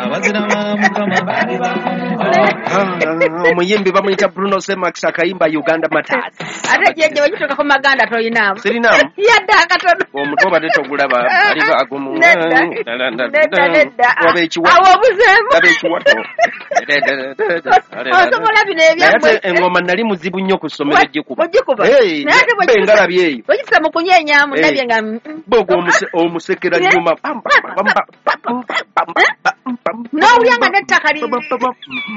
Abazira ba Mukama. Omuyimbi bamuyita Bruno Semax, akayimba Uganda Matters. Ate jjajja, bwekituuka ku maganda toyinaamu. Sirinaamu. Yadde akatono. Omutwe obadde togulaba, aliba agumu. Nedda. Nedda, nedda. Waba ekiwato. Awo obuzeemu. Waba ekiwato. Osobola bino Naye ebyammwe. ate engoma nali muzibu nnyo ku ssomero gikuba. Ogikuba. Hey, Naye ate mbe engalabi eyo. bwekituuka mu kunyeenyamu Hey. ndabye nga Bwogwo omusekera nyuma. Pam, pam, pam, pam, pam, pam, pam, pam, N'owulira nga n'ettaka pam, pam, pam,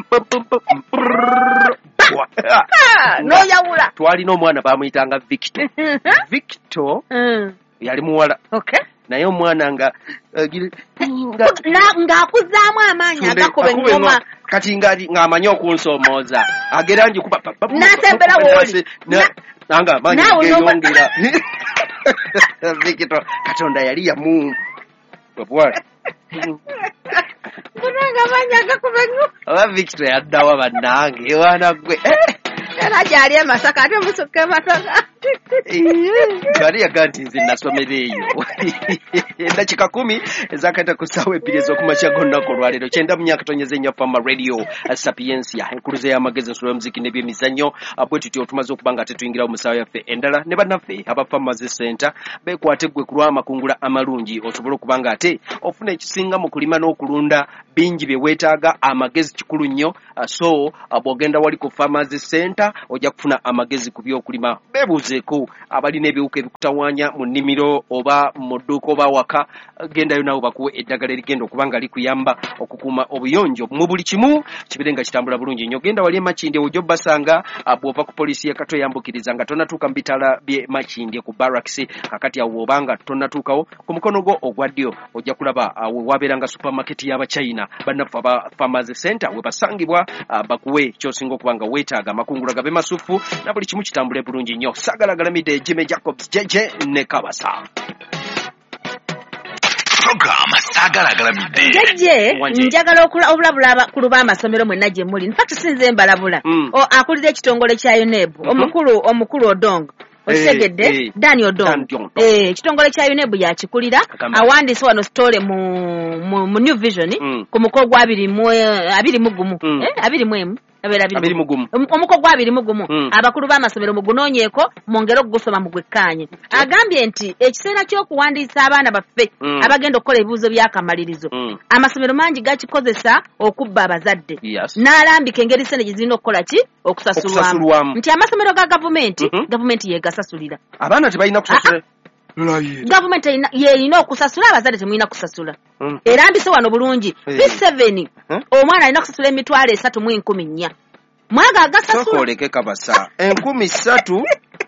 pam, pam, pam, prrrr. Ah, n'oyawula. Twalina omwana bamuyitanga Victor. Victor yali muwala, naye omwana nga Ng'akuzaamu amaanyi agakuba akuba engoma. engoma. Kati ng'amanyi okunsomooza, agera ngikuba pa- pa- N'asembera w'oli. Nange amaanyi Naawe geeyongera. Victor Katonda yali yamu bwati. Munange, amaanyi agakuba engoma. Oba Victor yaddawa bannange, wana gwe? Era gyali e Masaka, ate musukka e Masaka. Yali yaga nti nze nasomera eyo. Eddakiika 10 ezakata ku ssaawa 2 ez'okumakya g'olunaku olwaleero, 94.4 Fama Radio Sapiensia, enkuluze y'amagezi, ensulo y'omuziki n'ebyemizannyo. Bwe tutyo tumaze okuba nga tetuyingirawo mu ssaawa yaffe endala ne bannaffe aba Farmers Center. Beekwate ggwe ku lw'amakungula amalungi, osobole okuba nga ate ofuna ekisinga mu kulima n'okulunda. Bingi bye weetaaga, amagezi kikulu nnyo. So bw'ogenda wali ku Farmers Center ojja kufuna amagezi ku by'okulima. Beebuuzeeko abalina ebiwuka ebikutawaanya mu nnimiro oba mu dduuka oba waka, gendayo naawe bakuwe eddagala erigenda okuba nga likuyamba okukuuma obuyonjo mu buli kimu kibeere nga kitambula bulungi nnyo. Genda wali e Makindye, ojja obbasanga. Bw'ova ku poliisi y'e Katwe, yambukiriza nga tonnatuuka mu bitaala by'e Makindye ku barracks. Kakati awo bw'obanga tonnatuukawo, ku mukono gwo ogwa ddyo ojja kulaba we wabeeranga supermarket y'Abachina. Bannaffe aba Farmers Center we basangibwa, bakuwe ky'osinga okuba nga weetaaga, amakungula gabe masufu na buli kimu kitambule bulungi nnyo. Saagalagalamidde Jimmy Jacobs Jeje ne Kabasa. Program Saagalagalamidde. Jjajje, Wanje. njagala obulabula abakulu b'amasomero mwenna gye muli. Infact sinze mbalabula. Akulira ekitongole kya UNEB, omukulu Odong, okitegedde? Eh. Dan Odong. Dan Odong. Eh, ekitongole kya UNEB yakikulira. Agamba. Awandiise wano story mu New Vision ku muko gwa 21. Eh, 21, abeera 21. Omuko gwa 21. Abakulu b'amasomero mugunoonyeeko, mwongere okugusoma mugwekkaanye. Agambye nti ekiseera ky'okuwandiisa abaana baffe abagenda okukola ebibuuzo by'akamalirizo, amasomero mangi gakikozesa okubba abazadde. N'alambika engeri sente gye zirina okukola ki, okusasulwamu. Okusasulwamu. Nti amasomero ga gavumenti, gavumenti yegasasulira. Abaana tebalina kusasula. Gavumenti yerina okusasula, abazadde temulina kusasula. Erambise wano bulungi. P7, omwana alina kusasula 34,000 mwaga agasasula. Sooka oleke Kabasa, 3,000?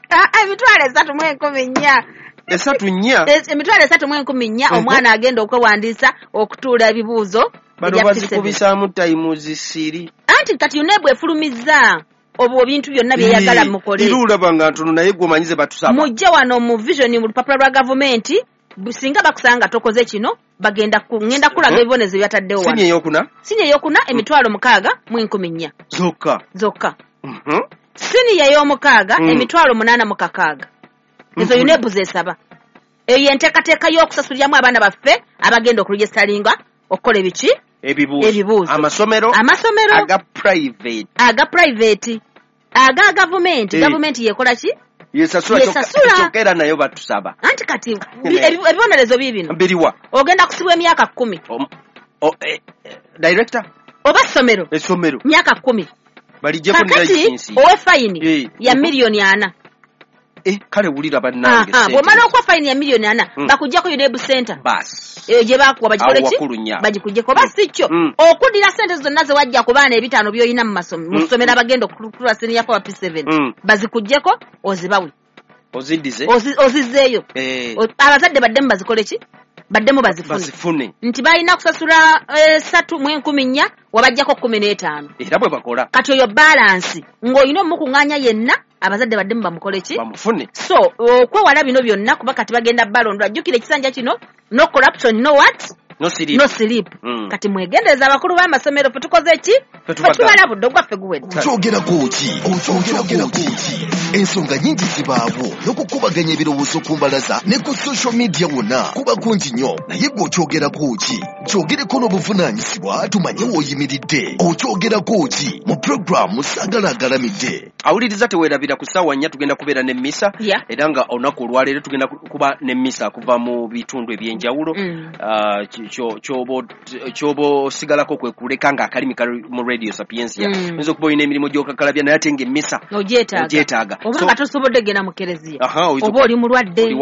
Ah, ah, 34,000. 34? 34,000. Omwana agenda okwewandiisa okutuula ebibuuzo Bano ebya P7. bazikubisaamu times three. Anti kati UNEB efulumizza obwo ebintu byonna byeyagala mukole. Era olaba nga ntono, naye gwe omanyize batusaba. Mujje wano mu Vision, mu lupapula lwa gavumenti. Singa bakusanga tokoze kino, bagenda ngenda kulaga ebibonezo byataddewo Sini wano. eyokuna? Siniya eyokuna, 60,400. Zokka? Zokka. Siniya ey'omukaaga, 86,000. Ezo UNEB zesaba. Eyo yenteekateeka y'okusasuliramu abaana baffe abagenda okuregistaringa okukola ebiki? Ebibuuzo. Ebibuuzo. Amasomero. Amasomero. Aga private. Aga private, aga gavumenti. Gavumenti yekola ki? Yesasula. Yesasula. Kyokka era nayo batusaba. Anti kati ebibonerezo biibino. Biriwa? Ogenda kusibwa emyaka 10. Director Oba ssomero. Essomero. Myaka 10. Balijjeko ne Kakati license. owe fayini ya 4,000,000. Eh, kale wulira bannange, Aha, sente. bw'omala okuwa fayini ya 4,000,000, bakuggyako UNEB center Basi. eyo gye bakuwa, bagikole Awo ki? wakulu nnyo. Bagikugyeko. Oba si kyo, okuddira sente zonna ze wajja ku baana 500 by'olina mu ssomero abagenda okutula senior four, P7, bazikugyeko ozibawe. Oziddize. Ozizzeeyo. Abazadde baddemu bazikole ki? Baddemu bazifune. Bazifune. Nti balina kusasula 304,000, wabajjako 15. Era bwe bakola. Kati oyo balance ng'olina omukuŋŋaanya yenna, abazadde baddemu bamukole ki? Bamufune. So okwewala bino byonna, kuba kati bagenda balondwa, jjukira ekisanja kino, no corruption, no what. No sleep. Kati mwegendereza abakulu b'amasomero, ffe tukoze ki? Ffe tubalabudde, ogwaffe guwedde. Okyogerako ki? Ensonga nnyingi zibaawo n'okukubaganya ebirowoozo ku mbalaza ne ku social media wonna kuba kungi nnyo, naye gwe okyogerako ki? Kyogereko n'obuvunaanyizibwa tumanye w'oyimiridde. Okyogerako ki mu puroguramu Saagala Agalamidde. Awuliriza teweerabira ku ssaawa 4 tugenda kubeera n'emmisa, era nga olunaku olwaleero tugenda kuba n'emmisa kuva mu bitundu ebyenjawulo. Kyoba osigalako kwe kuleka nga akalimi kali mu Radio Sapientia. Oyinza okuba olina emirimu gy'okakalabya naye ate ng'emmisa ogyetaaga. Oba nga tosobodde genda mu kereziya, oba oli mulwadde,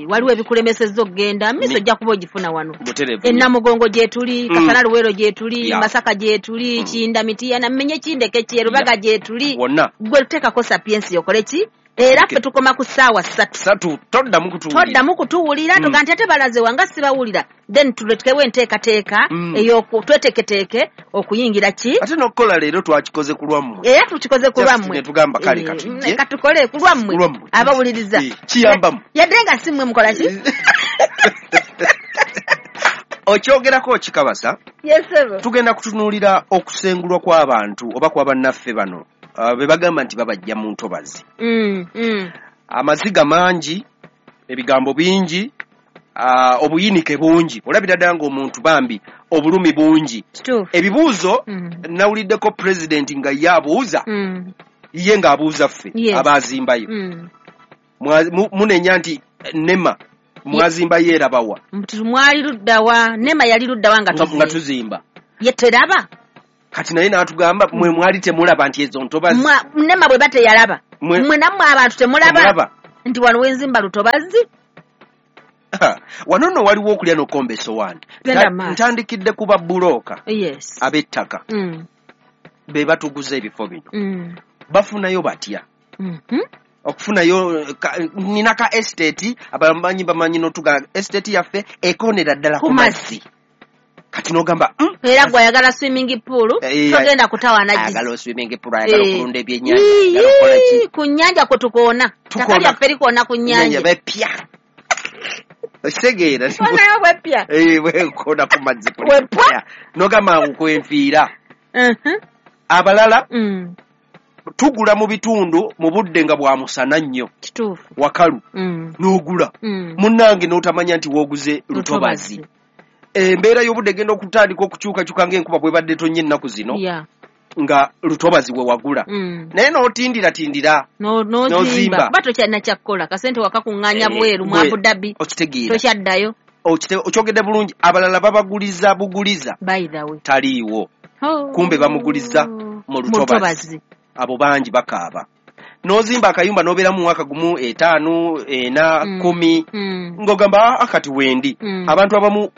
waliwo ebikulemesezza okugenda, mmisa ojja kuba ogifuna wano. Ennamugongo gyetuli, Kasana Luweero gyetuli, Masaka gyetuli, Kinda Mitiyana, mmenye Kindeke kye, Rubaga gyetuli. Gwe tuteekako Sapientia okole ki? Era ffe tukoma ku ssaawa 3. Toddamu kutuwulira. Tuga nti ate balaze wanga sibawulira, then tuletekewo enteekateeka ey'okutweteeketeeke okuyingira ki? Ate n'okukola leero twakikoze ku lwammwe. Era tukikoze ku lwammwe. Ne tugamba kale katujje. Katukole ku lwammwe abawuliriza. Kiyambamu. Yadde nga si mmwe mukola ki? Okyogerako kikabasa. Yes, sir. Tugenda kutunuulira okusengulwa kw'abantu oba kw'abannaffe bano. Be bagamba nti babajja mu ntobazi. Amaziga mangi, ebigambo bingi, obuyinike bungi. Olabira ddala ng'omuntu bambi obulumi bungi. Ebibuuzo nawuliddeko pulezidenti nga ye abuuza, ye ng'abuuza ffe abaazimbayo. Munenya nti NEMA mwazimbayo erabawa. Mwali luddawa, NEMA yali luddawa nga tuzimba. Ye teraba. Kati naye n'atugamba mwe mwali temulaba nti ezo ntobazi. NEMA bwe bateyalaba. Mwe nammwe abantu temulaba nti wano wenzimba lutobazi. Wano nno waliwo okulya n'okukomba essowaani. Ntandikidde ku babbulooka ab'ettaka be batuguza ebifo bino. Bafunayo batya? Okufunayo nina ka estate, abamanyi bamanyi n'otuga estate yaffe ekonera ddala ku mazzi. Kati n'ogamba era gwe ayagala swimming pool togenda kutawaana gizi. Ayagala swimming pool, ayagala okulunda ebyennyanja, ayagala okukola ki? Ku nnyanja kwe tukoona. Ttaka lyaffe likoona ku nnyanja. Bepya. Okitegeera? Konayo bwepya. Bwekoona ku mazzi bwepya. N'ogamba nkwenfiira. Abalala tugula mu bitundu mu budde nga bwa musana nnyo. Kituufu. Wakalu. N'ogula. Munnange n'otamanya nti wooguze lutobazi. Embeera y'obudde egenda okutandika okukyukakyuka ng'enkuba bwebadde tonnya ennaku zino, nga lutobazi we wagula. Naye n'otindiratindira n'ozimba. Kuba tokyalina kyakkola, kasente wakakuŋŋaanya bweru mu Abu Dhabi. Okitegeera. Tokyaddayo. Okyogedde bulungi. Abalala babaguliza buguliza. By the way. Taliiwo. Kumbe bamuguliza mu lutobazi. Abo bangi bakaaba. N'ozimba akayumba n'obeera mu mwaka 1, 5, 4, 10 ng'ogamba akati wendi. Abantu abamu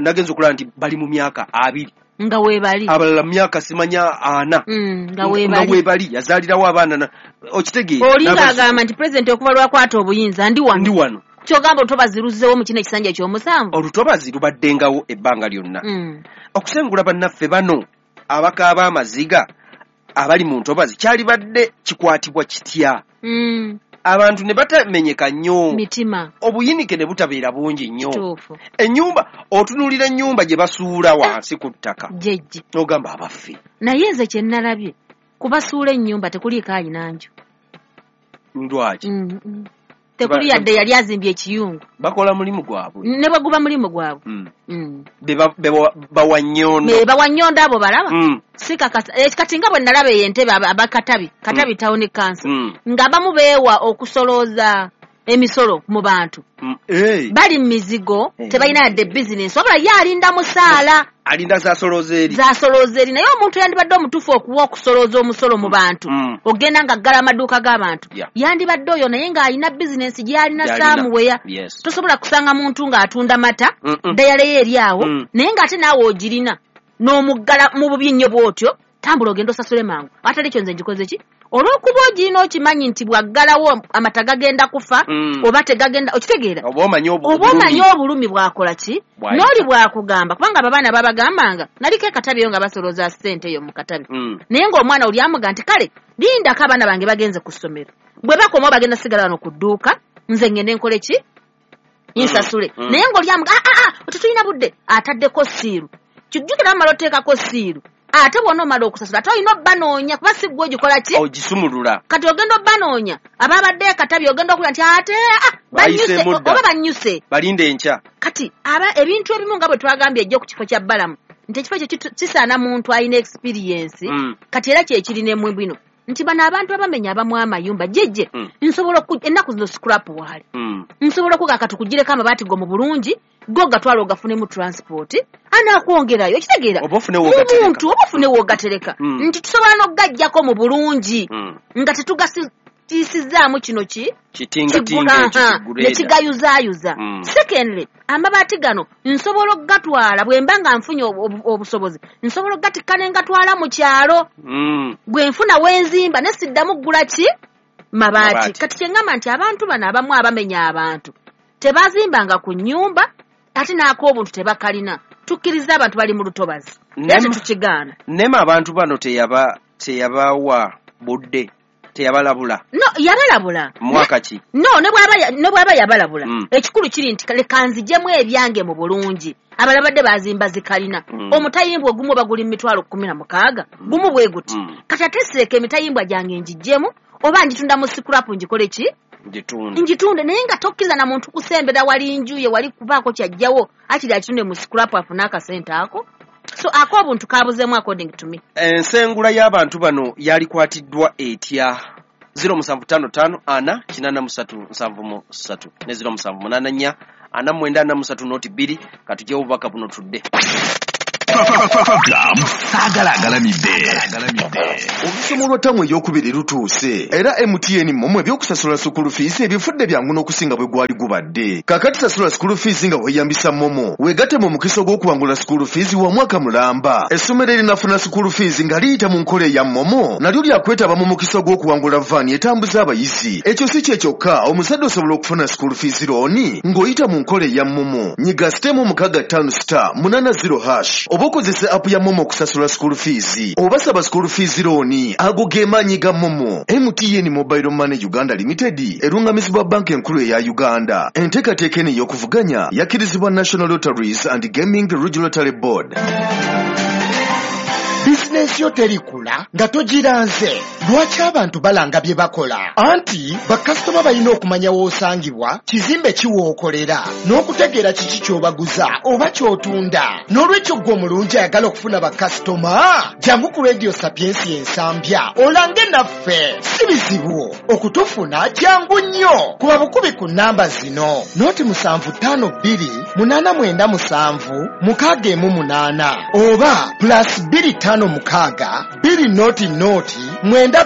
nagenza okulaba nti bali mu myaka 2 nga weebali, abalala mu myaka simanya 4 nga weebali, yazaalirawo abaana. Okitegeera? Oli ng'agamba nti pulezidenti okuva lwakwata obuyinza ndi wano. Kyogamba olutobazi luzzeewo mu kino ekisanja eky'omusanvu. Olutobazi lubaddengawo ebbanga lyonna. Okusengula bannaffe bano abakaaba amaziga abali mu ntobazi kyalibadde kikwatibwa kitya? Abantu ne batamenyeka nnyo, mitima, obuyinike ne butabeera bungi nnyo. Ennyumba otunuulira ennyumba gye basuula wansi ku ttaka, jjejje, n'ogamba abaffe. Naye nze kye nnalabye kubasuula ennyumba tekuliiko alina nju. Lwaki? Tekuli yadde yali azimbye ekiyungu. Bakola mulimu gwabwe. Ne bwe guba mulimu gwabwe. Bawannyondo. Bawannyondo abo balaba. Si kakasa. Kati nga bwe nalaba eyo entebe abakatabi, Katabi Town Council, ng'abamu beewa okusolooza emisolo mu bantu. Bali mu mizigo, tebalina yadde bizinensi, wabula ye alinda musaala. Alinda zasolooza eri. Zasolooza eri. Naye omuntu yandibadde omutuufu okuwa okusolooza omusolo mu bantu, ogenda ng'aggala amaduuka g'abantu. Yandibadde oyo naye ng'alina bizinensi gy'alina saamuweya. Tosobola kusanga muntu ng'atunda mata, dayale ye eri awo, naye ng'ate naawe ogirina n'omuggala mu bubi nnyo bw'otyo, tambula ogenda osasule mangu. Atali ekyo nze ngikoze ki? Olw'okuba ogirina okimanyi nti bw'aggalawo amata gagenda kufa, oba tegagenda, okitegeera? Oba omanyi obulumi bw'akola ki? N'oli bw'akugamba, kubanga abo abaana babagambanga, naliko e Katabi eyo nga basolooza ssente eyo mu Katabi. Naye ng'omwana oli amuga nti kale lindako abaana bange bagenze ku ssomero. Bwe bakomawo bagenda sigala wano ku dduuka, nze ngende nkole ki? Nsasule. Naye ng'oli amuga tetulina budde, ataddeko siiru. Kijjukira bamala oteekako siiru, ate bw'onoomala okusasula ate olina obbanoonya, kuba si ggwe ogikola ki? Ogisumulula. Kati ogenda obbanoonya ababadde ekatabi, ogenda okulya nti ate banyuse Bayiseemu dda. Oba banyuse. Balinde enkya. Kati aba ebintu ebimu nga bwe twagambye ejjo ku kifo kya Balamu nti ekifo ekyo kisaana muntu alina experience. Kati era kyekiri ne mu bino nti bano abantu abamenya abamu amayumba jjejje, nsobola ennaku zino scrap waali, nsobola okuga kati kugireko amabaati go mu bulungi, go gatwala ogafunemu transport anaakwongerayo, okitegeera? Oba ofune w'ogatereka. Muntu oba ofune w'ogatereka, nti tusobola n'okugaggyako mu bulungi nga tetugasitiisizaamu kino ki kitingatinga ekyo kiguleeda. Ne kigayuzaayuza. Secondly, amabaati gano nsobola okugatwala bwe mba nga nfunye obusobozi, nsobola okugatikka ne ngatwala mu kyalo, bwe nfuna wenzimba ne siddamu ggula ki mabaati. Mabaati. Kati kye ŋŋamba nti abantu bano abamu abamenya abantu tebazimbanga ku nnyumba, ate n'ak'obuntu tebakalina. Tukkiriza abantu bali mu lutobazi era tetukigaana. Nema abantu bano teyabawa budde, teyabalabula? No, yabalabula. Mwaka ki? No, ne bw'aba yabalabula, ekikulu kiri nti leka nzigyemu ebyange mu bulungi. Abalala badde bazimba zikalina. Omutayimbwa ogumu oba guli mu 160,000, gumu bwe guti. Kati ate sireka emitayimbwa gyange ngiggyemu, oba ngitunda mu scrap, ngikole ki? Ngitunde. Ngitunde, naye nga tokkiriza na muntu kusembera wali njuye wali kubaako kyajjawo, akiri akitunde mu scrap afune akasente ako. So ak'obuntu kabuzeemu according to me. Ensengula y'abantu bano yalikwatiddwa etya? 0755 4 83 73 ne 0784 49 43 02. Katugyewo obubaka buno tudde. Program Saagala Agalamidde. Olusomo lwa ttamu ey'okubiri lutuuse, era MTN MoMo ebyokusasula school fees ebifudde byangu n'okusinga bwe gwali gubadde. Kaakati sasula school fees nga weeyambisa MoMo, weegatte mu mukisa ogw'okuwangula school fees wa mwaka mulamba. Essomero erinafuna school fees nga liyita mu nkola eya MoMo nalyo lyakwetaba mu mukisa ogw'okuwangula van etambuza abayizi. Ekyo si kye kyokka, omuzadde osobola okufuna school fees loan ng'oyita mu nkola eya MoMo. Nyiga *658*80# oba okozesa app ya MoMo okusasula school fees, oba saba school fees loan. Ago ge maanyi ga MoMo. MTN Mobile Money Uganda Limited erungamizibwa Banka Enkulu eya Uganda. Enteekateeka eno ey'okuvuganya yakkirizibwa National Lotteries and Gaming Regulatory Board. Bizinensi yo terikula nga togiranze. Lwaki abantu balanga bye bakola? Anti bakasitoma balina okumanya w'osangibwa, kizimbe ki w'okolera, n'okutegeera kiki ky'obaguza oba ky'otunda. N'olwekyo ggwe omulungi ayagala okufuna bakasitoma, jangu ku Radio Sapiensia Ensambya olange naffe. Si bizibu okutufuna, jangu nnyo. Kuba bukubi ku nnamba zino: 075 2 897 618 oba +256 200 928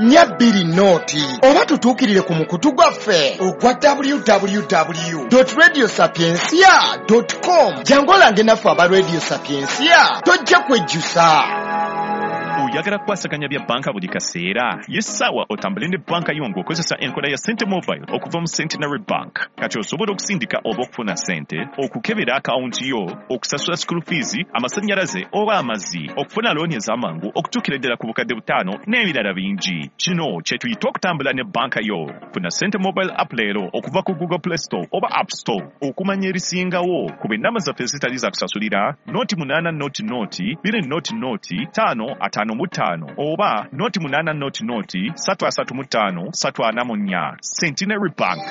420, oba tutuukirire ku mukutu gwaffe ogwa www.radiosapiencia.com. Jangu olange naffe aba Radio Sapiencia, tojja kwejjusa. Oyagala kukwasaganya bya banka buli kaseera? Ye ssaawa otambule ne banka yo ng'okozesa enkola ya Sente Mobile okuva mu Centenary Bank. Kati osobola okusindika oba okufuna sente, okukebera akawunti yo, okusasula school fees, amasannyalaze oba amazzi, okufuna looni ez'amangu okutuukira ddala ku 5,000 n'ebirala bingi. Kino kye tuyita okutambula ne banka yo. Funa Sente Mobile app leero okuva ku Google Play Store oba App Store. Okumanya ebisingawo, kuba ennamba zaffe ezitali za kusasulira 080 000 555 oba 080 335 344. Centenary Bank.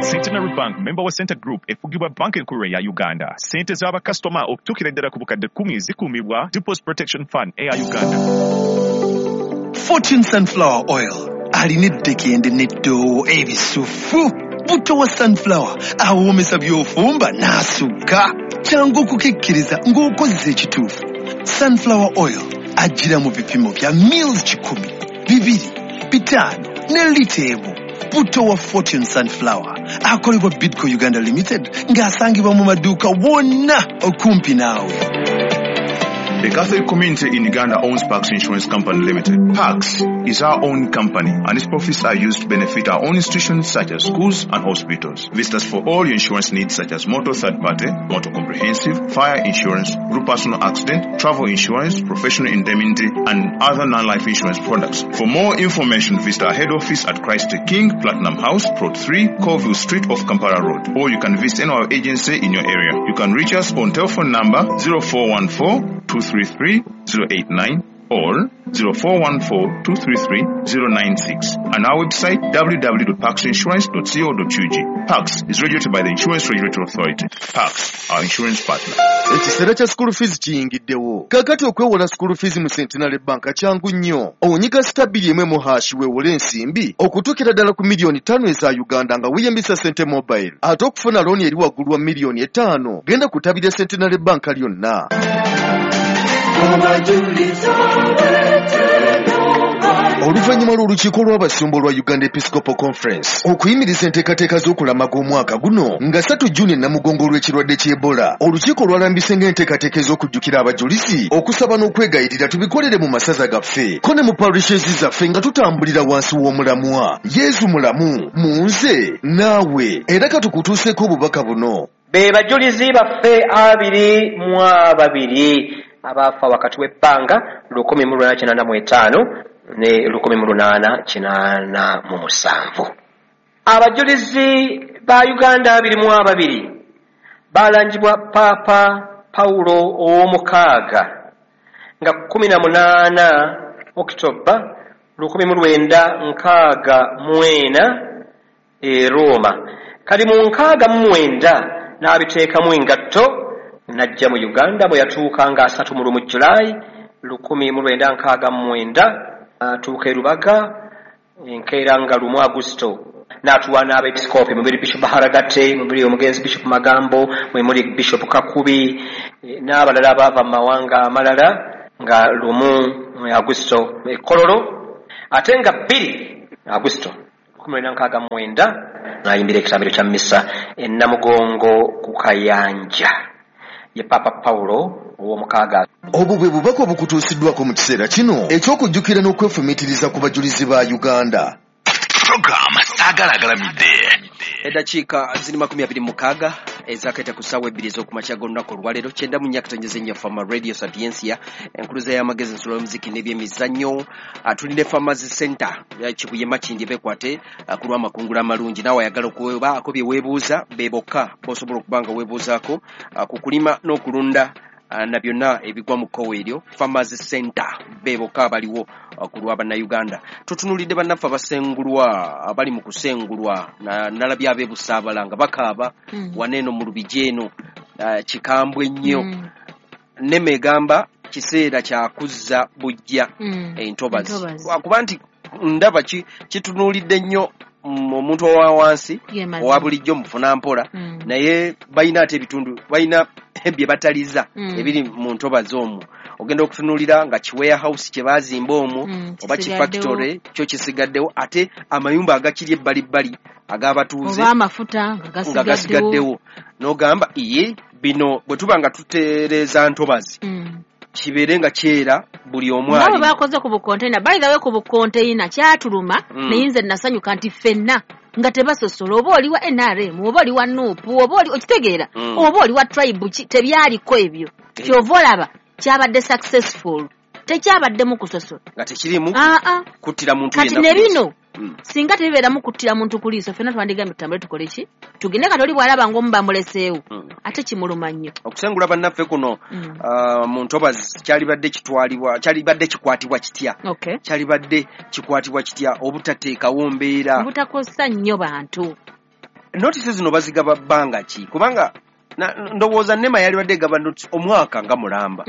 Centenary Bank member wa Senta Group, efugibwa Banka Enkulu eya Uganda. Sente z'abakasitoma okutuukira ddala ku 10,000 zikuumibwa Deposit Protection Fund eya Uganda. Fortune Sunflower Oil alina eddekende n'eddoowo ebisufu. Butto wa sunflower awoomesa by'ofumba n'asukka. Kyangu okukikkiriza ng'okozesa ekituufu. Sunflower Oil ajjira mu bipimo bya mils 100, 2, 5 ne lita 1. Butto wa Fortune Sunflower akolebwa Bidco Uganda Limited ng'asangibwa mu maduuka wonna okumpi naawe. The Catholic community in Uganda owns Pax Insurance Company Limited. Pax is our own company and its profits are used to benefit our own institutions such as schools and hospitals. Visit us for all your insurance needs such as motor third party, motor comprehensive, fire insurance, group personal accident, travel insurance, professional indemnity and other non-life insurance products. For more information, visit our head office at Christ the King, Platinum House, Plot 3, Colville Street off Kampala Road. Or you can visit any of our agency in your area. You can reach us on telephone number 0414 233 089 or 0414 233 096 and our website www.paxinsurance.co.ug. Pax is regulated by the Insurance Regulatory Authority. Pax, our insurance partner. Ekiseera kya school fees kiyingiddewo. Kaakati okwewola school fees mu Centenary Bank kyangu nnyo. Onyiga *1 # weewole ensimbi okutuukira ddala ku miliyoni 5 eza Uganda nga weeyambisa Sente Mobile. Ate okufuna looni eri waggulu wa miliyoni 5 genda kutabira Centenary Bank lyonna. Oluvannyuma lw'olukiiko lw'abasumba olwa Uganda Episcopal Conference okuyimiriza enteekateeka z'okulamaga omwaka guno nga 3 Juni Namugongo olw'ekirwadde ky'Ebola, olukiiko lwalambise ng'enteekateeka ez'okujjukira abajulizi, okusaba n'okwegayirira tubikolere mu masaza gaffe ko ne mu parishes zaffe nga tutambulira wansi w'omulamwa Yesu mulamu mu nze naawe. Era katukutuuseeko obubaka buno. Be bajulizi baffe 22 abafa wakati w'ebbanga 1885 ne 1887. Abajulizi ba Uganda 22 balangibwa Papa Paulo ow'omukaaga nga 18 Oktoba 1964 e Roma. Kali mu 69 n'abiteekamu engatto najja mu Uganda bwe yatuuka nga 31 Julai 1969 atuuka e Rubaga enkeera nga 1 Agusto n'atuwa n'abeepisikoopi mubiri Bishop Haragate, mubiri omugenzi Bishop Magambo, mwe muli Bishop Kakubi n'abalala abaava mu mawanga amalala nga 1 Agusto e Kololo, ate nga 2 Agusto 1969 n'ayimbira ekitambiro kya missa e Namugongo ku Kayanja ye Papa Paulo ow'omukaaga. Obwo bwe bubaka obukutuusiddwako mu kiseera kino eky'okujjukira n'okwefumiitiriza ku bajulizi ba Uganda. Program Saagala Agalamidde. Eddakiika ziri 26 ezakaita ku ssaawa 2 ez'okumakya g'olunaku olwaleero 94.4 Fama Radio Sapiencia, enkuluza y'amagezi ensolo y'omuziki n'ebyemizannyo. Tulina Farmers Center Kibuye Makindye beekwate ku lw'amakungula amalungi. Naawe ayagala okubaako bye weebuuza be bokka b'osobola okuba nga weebuuzaako ku kulima n'okulunda na byonna ebigwa mu kkowe eryo. Farmers Center be bokka abaliwo ku lwa Bannayuganda. Tutunuulidde bannaffe abasengulwa abali mu kusengulwa, nalabye ab'e Busaabala nga bakaaba wano eno mu Lubigi eno kikambwe nnyo. Nneme egamba kiseera kya kuzza buggya entobazi, lwakuba nti ndaba kitunuulidde nnyo omuntu owa wansi owa bulijjo mufuna mpola, naye balina ate ebitundu balina bye bataliza ebiri mu ntobazi omwo. Ogenda okutunuulira nga ki warehouse kye baazimba omwo oba ki factory kyo kisigaddewo, ate amayumba agakiri ebbalibbali ag'abatuuze oba amafuta nga gasigaddewo, n'ogamba iye bino bwe tuba nga tutereeza ntobazi kibeere nga kyera buli omu ali. Nabo bakoze ku bukonteina. By the way, ku bukonteina kyatuluma, naye nze nasanyuka nti ffenna nga tebasosola, oba oli wa NRM oba oli wa NUP oba oli okitegeera oba oli wa tribe, tebyaliko ebyo. Kyova olaba kyabadde successful, tekyabaddemu kusosola nga tekirimu kuttira muntu yenna. Kati ne bino singa tebibeeramu kuttira muntu ku liiso, ffenna twandigambye tutambule tukole ki, tugende. Kati oli bw'alaba ng'omu bamuleseewo ate kimuluma nnyo. Okusengula bannaffe kuno mu ntobazi kyalibadde kitwalibwa, kyalibadde kikwatibwa kitya? Kyalibadde kikwatibwa kitya obutateekawo mbeera, obutakosa nnyo bantu? Notisi zino bazigaba bbanga ki? Kubanga ndowooza NEMA yalibadde egaba notisi omwaka nga mulamba.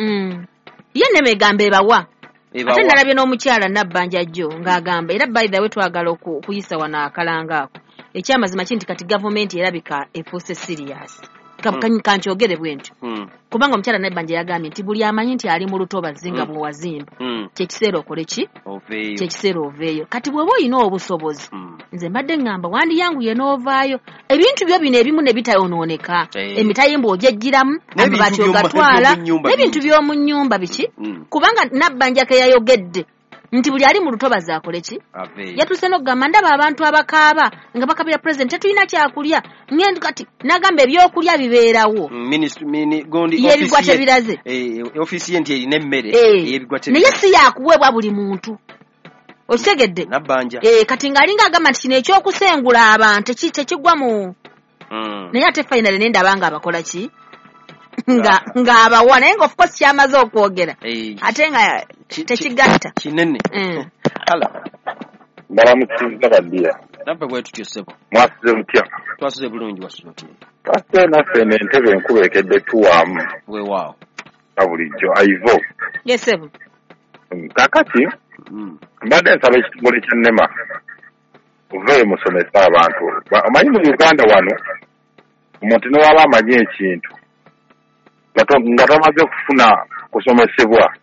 Ye NEMA egamba ebawa. Ate nalabye n'omukyala Nabbanja jjo ng'agamba, era by the way twagala okuyisa wano akalanga ako. Ekyamazima ki nti kati gavumenti erabika efuuse serious. Kankyogere bwe ntyo. Kubanga omukyala Nabbanja yagambye nti buli amanyi nti ali mu lutobazi nga bw'owazimba, kyekiseera okole ki? Kyekiseera oveeyo. Kati bw'oba olina obusobozi Nze mbadde ngamba wandiyanguye n'ovaayo ebintu byo bino ebimu ne bitayonooneka, emitayimbwa ojejjiramu, amabaati ogatwala, n'ebintu by'omu nnyumba biki, kubanga Nabbanja ke yayogedde nti buli ali mu lutobazi akole ki, yatuuse n'okugamba ndaba abantu abakaaba nga bakabira president tetulina kyakulya, ngendo kati n'agamba ebyokulya bibeerawo. Y'ebigwa tebiraze, ofiisi ye nti erina emmere ey'ebigwa tebiraze, naye si yakuweebwa buli muntu. Okitegedde? Nabbanja kati ng'alinga agamba nti kino ekyokusengula abantu tekigwa mu naye ate finally ne ndaba nga abakola ki ng'abawa, naye nga of course kyamaze okwogera ate nga tekigatta kinene. Mbalamusiza baddiya. Naffe bwe tutyo ssebo. Mwasuze mutya? Twasuze bulungi. Wasuze otya? Twasuze naffe n'entebe enkuba ekedde tuwaamu. Weewaawo. Nga bulijjo Aivo. Yes ssebo. Kaakati mbadde nsaba ekitongole kya NEMA muveeyo musomese abantu. Omanyi mu Uganda wano omuntu ne waba amanyi ekintu nga tamaze kufuna kusomesebwa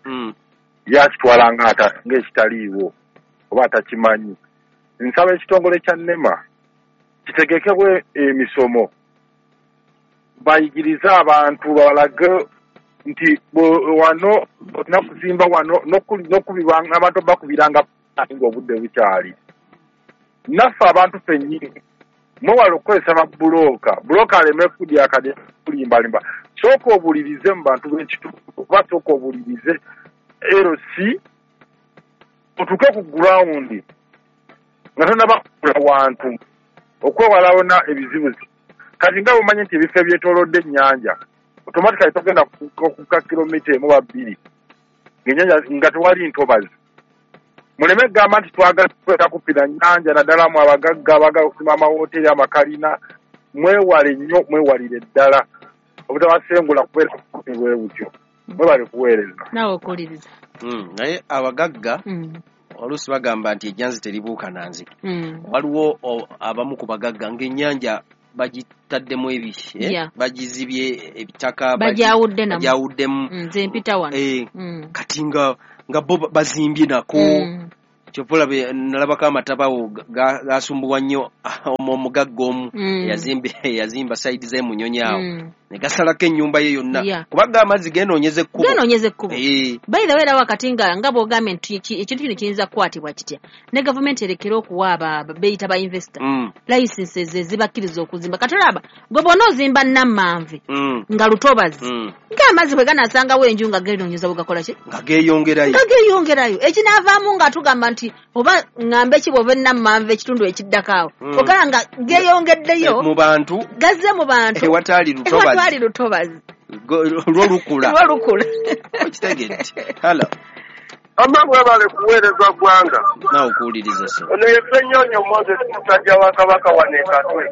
yakitwala ng'ekitaliiwo oba atakimanyi. Nsaba ekitongole kya NEMA kitegekebwe emisomo bayigirize abantu babalage nti wano olina kuzimba wano n'okubiranga abantu bakubiranga ng'obudde bukyali. Naffe abantu ffennyini mwewale okukozesa babbulooka, bulooka aleme kudyakadya kulimbalimba. Sooka obulirize mu bantu b'ekitundu oba sooka obulirize LC otuuke ku gurawundi nga tonnaba kugula wantu okwewala wonna ebizibu. Kati nga bw'omanyi nti ebifo ebyetoolodde ennyanja automatically togenda kukka kilomita 1 oba 2 ng'ennyanja nga tewali ntobazi. Muleme kugamba nti twagala kukweta kupira nnyanja, naddala mu abagagga abaagala okusima amawooteri amakalina. Mwewale nnyo, mwewalire ddala obutabasengula kubeera kumpi bwe butyo. Mwebale kuweereza. Naawe okuwuliriza. Naye abagagga oluusi bagamba nti ejjanzi teribuuka na nzige. Waliwo abamu ku bagagga ng'ennyanja bagitaddemu ebi, bagizibye ebitaka, bagyawuddemu. Nze mpita wano. Kati nga bo bazimbye nako. Kyova olaba nalabako amatabawo gasumbuwa nnyo omugagga omu eyazimba sayidi z'emunyonyi awo ne gasalako ennyumba ye yonna, kubanga amazzi geenoonyeza ekkubo. Geenoonyeza ekkubo. By the way, era wakati nga bw'ogambye nti ekintu kino kiyinza kukwatibwa kitya, ne gavumenti erekere okuwa beeyita ba investor licenses ezibakkiriza okuzimba. Kati olaba gwe bw'ona ozimba Nammanve nga lutobazi, ng'amazzi bwe ganaasangawo enju nga geenoonyeza bwe gakola ki? Nga geeyongerayo. Nga geeyongerayo. Ekinaavaamu nga tugamba nti oba ŋŋambe ki bw'ova Nammanve ekitundu ekiddako awo, ogala nga geeyongeddeyo mu bantu, gazze mu bantu ewatali lutobazi. Ewatali lutobazi. Lwo lukula. Lwo lukula. Okitegedde. Hello. Amma mwebale kuweereza ggwanga. Naawe okuwuliriza ssebo. Ono ye Ssennyonyo Moses musajja wa Kabaka wano e Katwe.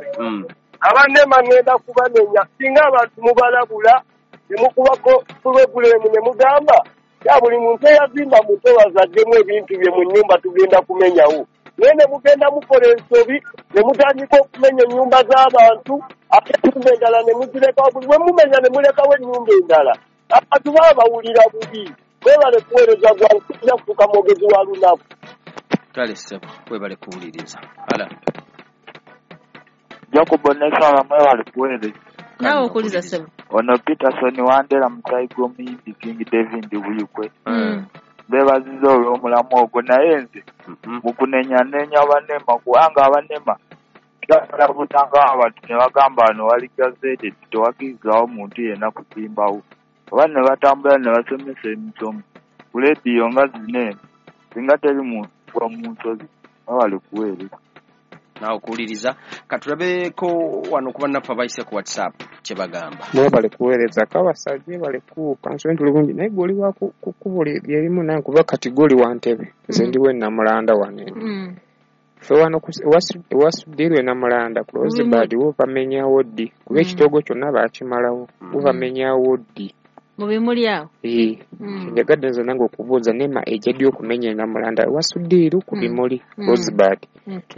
Abannema ŋŋenda kubanenya singa abantu mubalabula ne mukubako pulogulaamu ne mugamba ya buli muntu eyazimba mutobazi aggyemu ebintu bye mu nnyumba tugenda kumenyawo. Naye ne mugenda mukola ensobi ne mutandika okumenya ennyumba z'abantu ate ennyumba endala ne muzirekawo, buli bwe mumenya ne mulekawo ennyumba endala. Abantu baba bawulira bubi. Mwebale kuweereza ggwanga, tujja kufuuka mwogezi wa lunaku. Kale ssebo, webale kuwuliriza. Hala. Jacob Onesala mwebale kuweereza. Naawe okuwuliriza ssebo. Ono Peterson Wandera musayi gw'omuyimbi King David Buyikwe. Beebaziza olw'omulamu ogwo, naye nze mu kunenyanenya abanema, kubanga abanema balabutanga abantu ne bagamba wano wali gazetted tewakkirizibwawo muntu yenna kusimbawo, oba ne batambula ne basomesa emisomo ku leediyo nga zino eno singa teri muntu gwa mu nsozi. Mwebale kuweereza. Naawe okuwuliriza. Katulabeko wano ku bannaffe abayise ku WhatsApp kye bagamba. Mwebale kuweereza Kabasajja, mwebale kuwuka nsonyi tuli bulungi, naye gw'oli wa ku kkubo lyerimu nange kuba kati gw'oli wa Ntebe, nze ndi w'e Namulanda wano eno. Ffe wano ewa Sudiru e Namulanda ku Rosebud wo bamenyawo ddi? Kuba ekitoogo kyonna baakimalawo, bo bamenyawo ddi? Mu bimuli awo. Njagadde nze nange okubuuza NEMA ejja ddi okumenya e Namulanda ewa Sudiru ku bimuli Rosebud,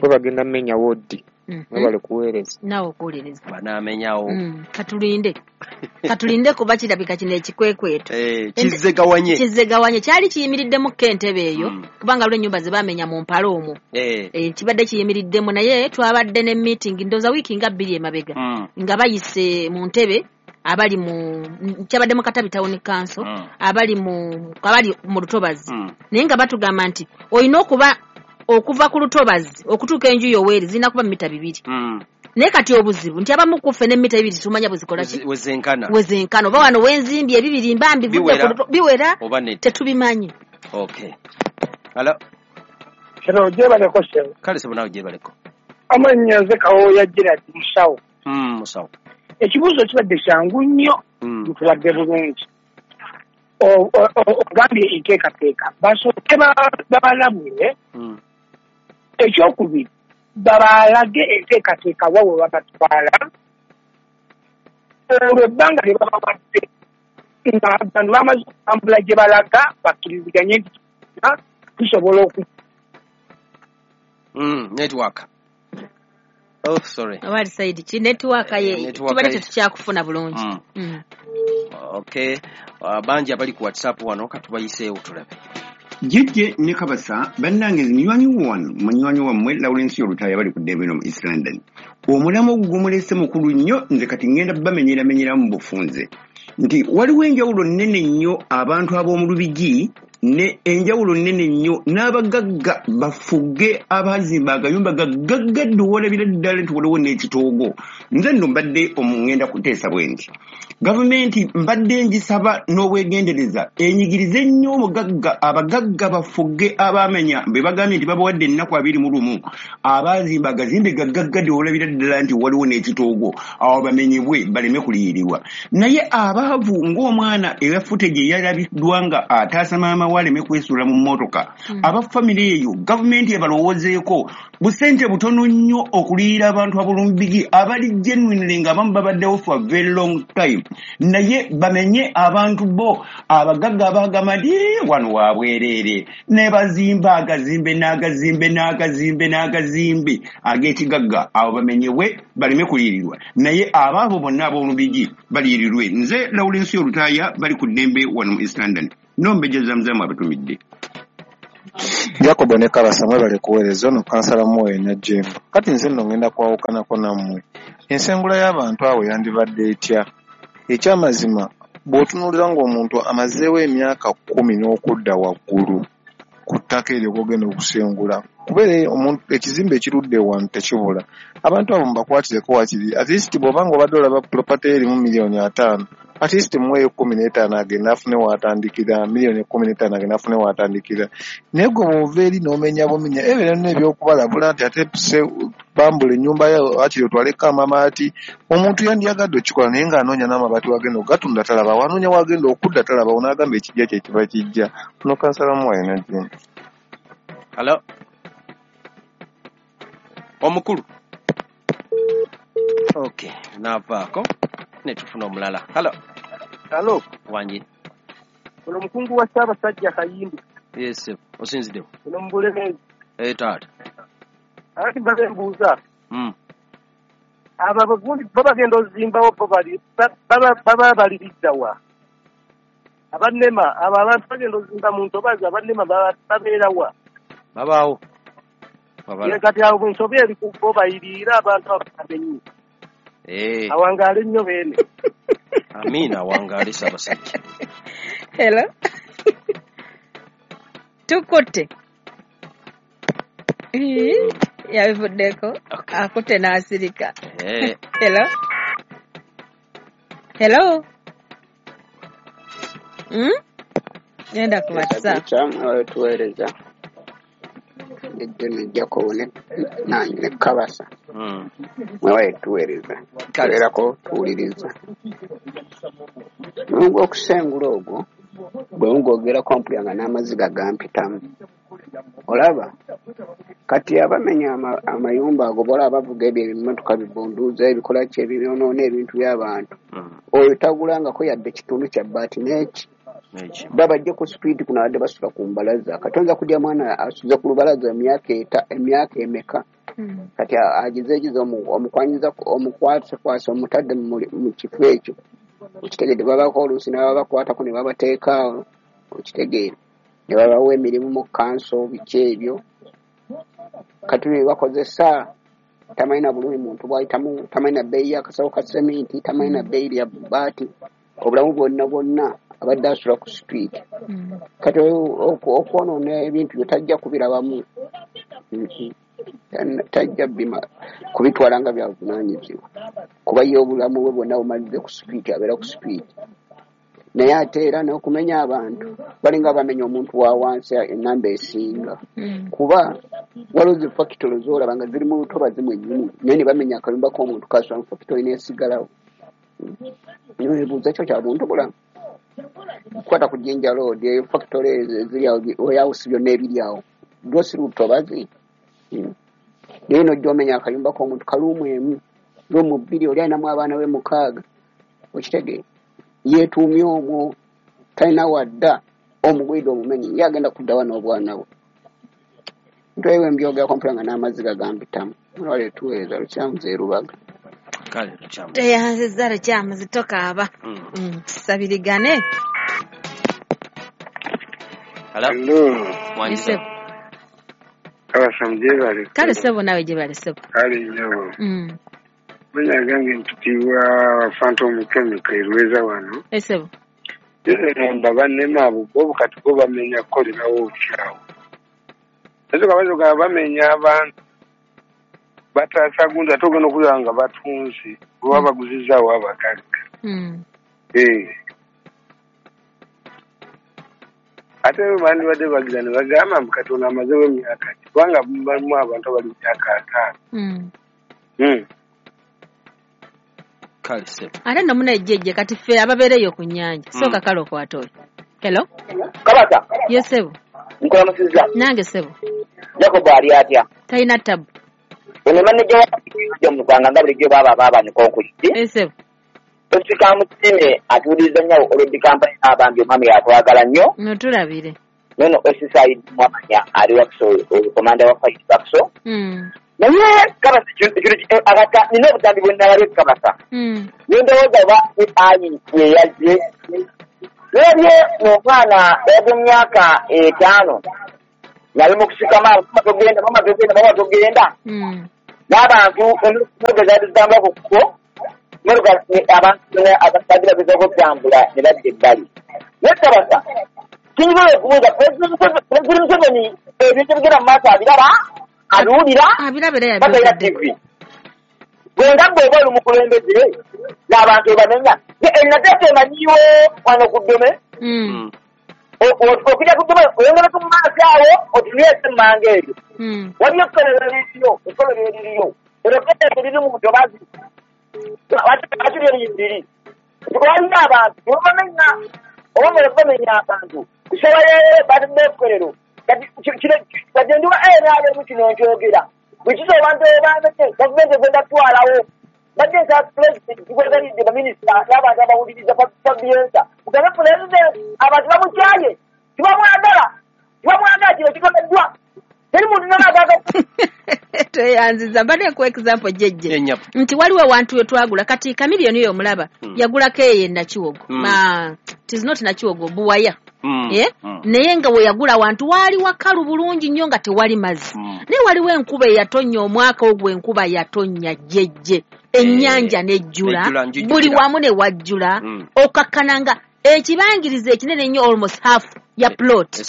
bo bagenda menyawo ddi? Mwebale kuweereza. Naawe okuwuliriza. Banaamenyawo. Katulinde. Katulinde kuba kirabika kino ekikwekweto. Kizzegawanye. Kizzegawanye kyali kiyimiriddemu ko entebe eyo kubanga lwe ennyumba ze baamenya mu mpalo omwo. Kibadde kiyimiriddemu naye twabadde ne meeting ndowooza wiiki nga 2 emabega nga bayise mu ntebe abali mu kyabadde mu Katabi Town Council abali mu Lutobazi naye nga batugamba nti olina okuba okuva ku Lutobazi okutuuka enju yoweeri zirina kuba mita 2. Naye kati obuzibu nti abamu ku ffe ne mita 2 tumanya bwezikola ki wezenkana oba wano wenzimbi ebibiri mbambi biwera tetubimanyi. Okay. Hello. Hello, gyebaleko ssebo. Kale ssebo naawe gyebaleko. Amannya nze Kawooya Gerald musawo. Musawo. Ekibuuzo kibadde kyangu nnyo, ntubadde bulungi. Ogambye enteekateeka basooke babalabule. Ekyokubiri babalage enteekateeka wa we babatwala olwo ebbanga lye babawadde nga bano bamaze okutambula gye balaga bakkiriziganye nti tusobola oku network. Oh, sorry. Awali saidi ki network ye tubadde tetukyakufuna bulungi. Okay. Bangi abali ku WhatsApp wano katubayiseewo tulabe. Jjejje ne Kabasa bannange munywanyi wano munywanyi wammwe Lawrence Olutaaya bali ku ddembe mu East London. Omulamu ogwo gumulese mukulu nnyo nze kati ngenda bamenyeramenyeramu mu bufunze nti waliwo enjawulo nnene nnyo abantu ab'omu Lubigi ne enjawulo nnene nnyo n'abagagga bafuge abazimba agayumba gagaggadde owalabira ddala nti waliwo n'ekitoogo. Nze nno mbadde omungenda kuteesa bwe nti gavumenti mbadde ngisaba n'obwegendereza enyigirize nnyo omugagga abagagga bafuge abamenya be bagambye nti babawadde ennaku 21 abazimba agazimbe gagaggadde owalabira ddala nti waliwo n'ekitoogo awo bamenyebwe baleme kuliyirirwa. Naye abaavu ng'omwana ewa footage eyalabiddwa nga ataasa maama waleme kwesuula mu mmotoka aba famire eyo gavumenti ebalowoozeeko busente butono nnyo okuliyira abantu ab'Olumbigi abali genuinely nga abamu babaddewo for a very long time naye bamenye abantu bo abagagga abagamba nti wano wabwereere ne bazimba agazimbe n'agazimbe n'agazimbe n'agazimbe ag'ekigagga abo bamenyebwe baleme kuliyirirwa naye abaabo bonna ab'Olubigi baliyirirwe. Nze Lawrence Olutaaya bali ku ddembe wano mu East London. Nombeja Zamzamu abatumidde. Jacobo ne Kabasa mwebale kuweereza ono kansala Mwoyo Najjemba. Kati nze nno ngenda kwawukanako nammwe. Ensengula y'abantu abo yandibadde etya? Ekyamazima bw'otunuulira ng'omuntu amazeewo emyaka 10 n'okudda waggulu ku ttaka eryo gw'ogenda okusengula kubeera omuntu ekizimbe ekirudde wano tekibula. Abantu abo mubakwatireko wakiri at least bw'oba ng'obadde olaba property erimu miliyoni 5 at least muweeyo 15 agenda afune w'atandikira miliyoni 15 agenda afune w'atandikira. Naye gwe bw'ova eri n'omenya bumenya ebeera nno ebyokubalabula nti ate bambula ennyumba yo wakiri otwaleko amabaati. Omuntu yandiyagadde okikola naye ng'anoonya n'amabaati wagenda okugatunda talabawo, anoonya wagenda okudda talabawo n'agamba ekijja kye kiba kijja. Ono kansala Mwoyo Najjemba. Hello. Omukulu. Okay, naavaako netufuna omulala. Hello. Hello. Wangi. Ono mukungu wa Ssaabasajja Kayimbi. Yes, osinziddewo. Ono mu Bulemeezi. Taata. Ati mbadde mbuuza. Abo abagundi bo bagenda ozimbawo bo baba baliridda wa? Abannema abo abantu bagenda ozimba mu ntobazi abannema babeera wa? Babaawo. Kati awo ensobi eri ku bo bayiriira abantu abamenyi. Awangaale nnyo beene. Amiina awangaale Ssaabasajja. Hello. Tukutte. Yabivuddeko. Akutte n'asirika. Hello. Hello. Genda ku WhatsApp. Tuweereza. Ejjo Jacobo ne Kabasa. Mwewaye tuweereza. Tubeerako tuwuliriza. Mulungu okusengula ogwo bwe ngwogerako mpulira nga n'amaziga gampitamu. Olaba kati abamenya amayumba ago bolaba bavuga ebyo ebimotoka bibunduuza ebikola ki ebyonoona ebintu by'abantu. Oyo tagulangako yadde kitundu kya bbaati n'eki. Babajje ku speed kuno abadde basula ku mbalaza. Katonza kudya mwana asuze ku lubalaza emyaka emeka. Kati agizeegize omukwanyiza omukwasekwasa omutadde mu kifo ekyo, okitegedde? Babako oluusi ne babakwatako ne babateeka awo, okitegeera, ne babawa emirimu mu kanso, biki ebyo. Kati bye bakozesa tamanyi na bulumi muntu bw'ayitamu, tamanyi na bbeeyi y'akasawo ka seminti, tamanyi na bbeeyi lya bbaati, obulamu bwonna bwonna abadde asula ku street. Kati okwonoona ebintu byo tajja kubirabamu, tajja kubitwala nga byabuvunaanyizibwa, kuba ye obulamu bwe bwonna bumalidde ku street, abeera ku street. Naye ate era n'okumenya abantu balinga bamenya omuntu wa wansi enamba esinga, kuba waliwo zi fakitolo z'olaba nga ziri mu lutobazi mwennyini, naye ne bamenya akayumba k'omuntu kasula mu fakitolo n'esigalawo. Nebuuza kyo kya buntu bulamu? Kwata ku Jinja Road, eyo fakitolo ezo eziri awo, warehouse byonna ebiri awo, lwo si lutobazi. Naye n'ojja omenya akayumba k'omuntu kaluumu emu, luumu 2, oli alinamu abaana be 6, okitegeera? Yeetuumye omwo, talina wadda, omugwidde omumenyi, ye agenda kuddawa n'obwana bwe. Ntwewe mbyogerako mpula nga n'amaziga gambitamu. Mwewale tuweereza Lukyamuzi e Rubaga. Kale Lukyamuzi. Teyanziza Lukyamuzi, tokaaba. Tusabirigane. Hello. Wanjisa. Kabasa gyebale. Kale ssebo, naawe gyebale ssebo. Kale nnyabo. Mannya gange mpitibwa Phantom Chemical e Lweza wano. Ssebo. Nze bannema abo bo kati bo bamenya kukolerawo kyawo. Ezo kabazo bamenya abantu bataasa gundi ate ogenda okulaba nga batunze oba baguzizaawo abagagga. Ate bandibadde bagira ne bagamba mbu Katonda amazeewo emyaka ki, kubanga balimu abantu abali mu myaka 50. Kale ssebo. Ate nno munejjejje kati ffe ababeereyo ku nnyanja. Sooka kale okwata oyo. Hello? Kabasa. Ye ssebo. Nkulamusizza. Nange ssebo. Jacob ali atya? Talina tabu. Ono maneja wa mu Rwanda nga bulijjo baaba baabanika okulidde. Ssebo. Osika Musime atuwuliriza nnyo olw'eddi kampani abambi omwami yatwagala nnyo. No tulabire. Nono Osisa Mwamanya ali Wakiso, komanda wa Fight Wakiso. Naye Kabasa akata nina obutambi bwe nalabye Kabasa. Ne ndowooza oba AI ye yazze. Nalabye omwana ow'emyaka 5 nali mu kusikama, mama togenda, mama togenda, mama togenda. N'abantu emmotoka zaali zitambula ku kkubo, emmotoka abantu abadde bagezaako okutambula ne badda ebbali. Naye Kabasa, kinyuma okubuuza Pulezidenti Museveni ebintu ebigenda mu maaso abiraba, abiwulira, batalina TV. Gwe nga bw'oba oli mukulembeze n'abantu obamenya. Enateeka emanyiwo wano ku ddome. Okujja ku ddome oyongerako mu maaso awo otunuleese emmanga eyo. Waliyo ekkolero eririyo, ekkolero eririyo. Eryo ekkolero liri mu ntobazi. Lwaki lyo liri? Waliyo abantu tebabamenya, oba mmwe bamenya abantu. Kusaba leero batadde ekkolero. Kati kati ndiwa NRM kino nkyogera. Bwe kiza abantu bamenya, gavumenti egenda kutwalawo. Badde nsaba pulezidenti kikwegalidde baminisita n'abantu abawuliriza Fabiensa. Mugambe pulezidenti abantu bamukyaye, tebamwagala, tebamwagala kino kikoleddwa. Teri muntu n'omu agamba. Tweyanziza mbadde nkuwa example jjejje nti waliwo awantu we twagula kati Chameleone oyo omulaba yagulako eyo e Nakiwogo. It is not Nakiwogo, Buwaya. Naye nga we yagula awantu waali wakalu bulungi nnyo nga tewali mazzi. Naye waliwo enkuba eyatonnya omwaka ogwo, enkuba yatonnya jjejje, ennyanja n'ejjula, buli wamu ne wajjula, okkakkana nga ekibangirizi ekinene ennyo almost half ya plot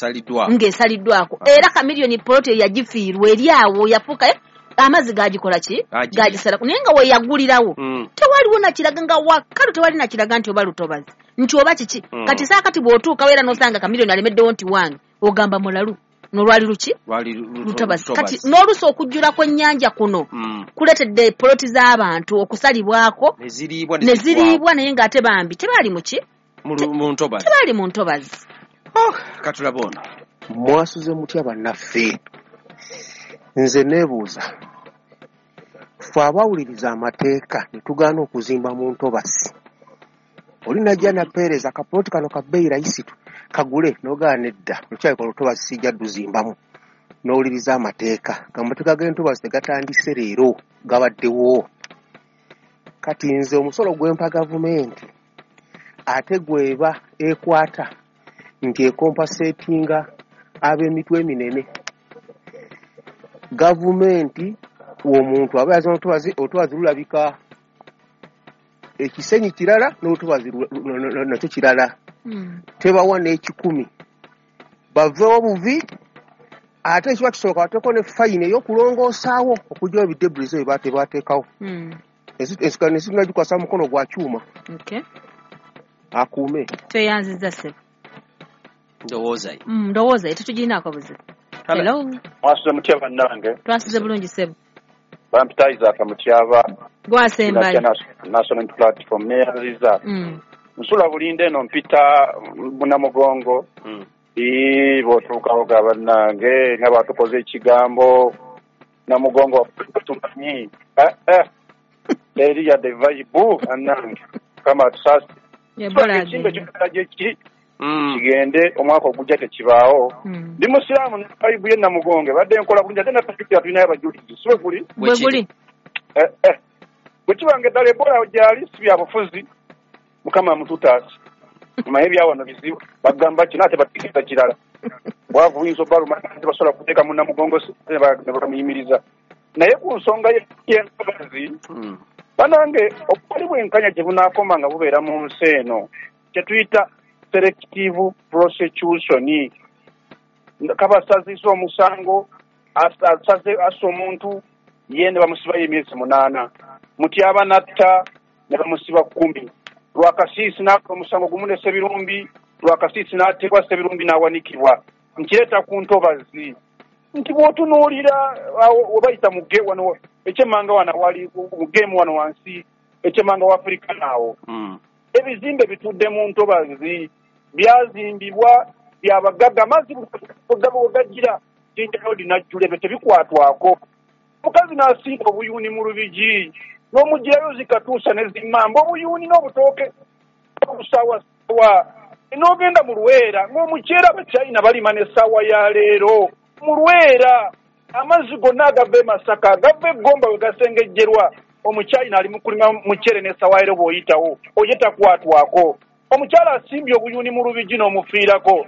ng'esaliddwako. Era Chameleone plot eyo yagifiirwa eri awo yafuuka amazzi gagikola ki? Gagisalako. Naye nga we yagulirawo tewaliwo nakiraga nga wakalu, tewali nakiraga nti oba lutobazi nti oba kiki. Kati saakati bw'otuukawo era n'osanga Chameleone alemeddewo nti wange, ogamba mulalu n'olwali luki? Lutobazi. Kati n'oluusi okujjula kw'ennyanja kuno kuleetedde poloti z'abantu okusalibwako ne ziriibwa, naye ng'ate bambi tebaali mu ki? Tebaali mu ntobazi. Katulaba ono. Mwasuze mutya bannaffe? Nze neebuuza, ffe abawuliriza amateeka ne tugaana okuzimba mu ntobazi, oli najja napeereza akapoloti kano ka bbeeyi rayisitu kagule, n'ogaana nedda, lukyalika olutobazi sijja dduzimbamu. N'owuliriza amateeka. Amateeka g'entobazi tegatandise leero, gabaddewo. Kati nze omusolo gwempa gavumenti ate gweba ekwata nti ekompensatinga ab'emitwe eminene. Gavumenti omuntu aba yazima olutobazi lulabika ekisenyi kirala n'olutobazi nakyo kirala. Tebawa n'ekikumi. Baveewo buvi ate ekiba kisooka bateeko ne fayini ey'okulongoosaawo okuggyawo ebidebris ebyo tebateekawo. Ensi tunagikwasa mukono gwa kyuma. Akuume. Tweyanzizza ssebo. Ndowooza ye. Ndowooza ye tetugirinaako buzibu. Hello. Mwasuze mutya bannange? Twasuze bulungi ssebo. Bampita Isaac Mutyaba. Gwasembayo. National Platform neyanziza. Nsula bulinde eno mpita Namugongo. Bw'otuukawo ga bannange nga batukoze ekigambo Namugongo tumanyi. Eri yadde vibe bannange. Kama tusasi. Ekimbe kyonna kigende omwaka ogujja tekibaawo. Ndi musiraamu ne vibe ye Namugongo badde nkola bulungi ate naffe tulinayo abajulizi. Si bwe guli? Bwe guli. Bwe kibanga eddala Ebola gyali si bya bufuzi. Mukama mututaasa. Omanyi ebyawano bizibu bagamba kino ate bategeeza kirala. Bwavu buyinza obbaluma tebasobola kuteeka mu Namugongo ne bamuyimiriza. Naye ku nsonga y'entobazi bannange obutali bwenkanya gye bunaakoma nga bubeera mu nsi eno kye tuyita selective prosecution. Kabasazisa omusango asaze assa omuntu ye ne bamusibayo emyezi 8. Mutyaba n'atta ne bamusiba 10. Lwakasiisi n'akola omusango gumu ne Ssebirumbi, Lwakasiisi n'ateebwa Ssebirumbi n'awanikibwa. Nkireeta ku ntobazi nti bw'otunuulira we bayita mu wano ekyemmanga wano wali mu geemu wano wansi ekyemmanga wa Afrika naawo. Ebizimbe bitudde mu ntobazi byazimbibwa byabagagga amazzi gajjira Jinja Road n'ajjula ebyo tebikwatwako. Omukazi n'asimba obuyuuni mu Lubigi n'omugirayo zikatuusa ne zimmamba obuyuuni n'obutooke obusaawasawa n'ogenda mu Lwera ng'omuceere Abachina balima n'essaawa ya leero. Mu Lwera amazzi gonna agava e Masaka agava e Gomba we gasengejjerwa omuchina ali mu kulima muceere n'essaawa leero bw'oyitawo oye takwatwako. Omukyala asimbye obuyuuni mu Lubigi n'omufiirako.